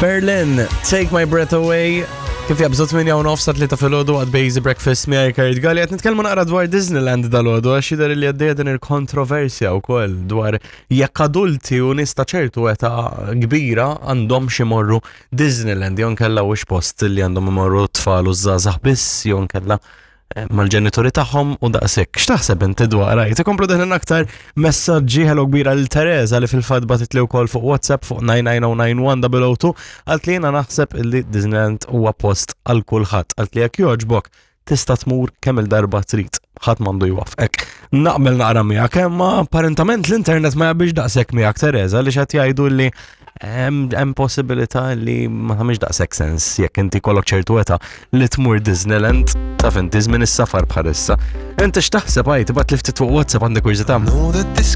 Berlin, Take My Breath Away. Kif jabżu 8 u nofs sa 3 filgħodu għad Bejzi Breakfast miegħi Kurt Galli qed nitkellmu naqra dwar Disneyland dal-għodu għax jidher li għaddejja din il-kontroversja wkoll dwar jekk adulti u nies ta' ċertu età kbira għandhom xi morru Disneyland jew nkella wix post li għandhom imorru tfal u żgħażagħ biss jew nkella eh, mal-ġenituri tagħhom u daqshekk. X'taħseb inti dwar rajt? Ikomplu deħlin aktar messaġġi ħelu kbira lil Teresa li fil-fatt bagħtitli wkoll fuq WhatsApp fuq 99091 għalt li jiena naħseb li Disneyland huwa post għal kulħadd. Għalt li jekk jogħġbok tista' tmur kemm il-darba trid, ħadd m'għandu jwaffqek. Naqbel naqra miegħek, imma apparentament l-internet ma jaqbilx daqshekk miegħek Teresa li x'qed jgħidu li hemm possibilità li ma tagħmilx daqshekk sens jekk inti kollok ċertu età li tmur Disneyland taf inti żmien is-safar bħalissa. Inti x'taħseb għajt tibgħat li ftit fuq WhatsApp għandek kurżità. Know that this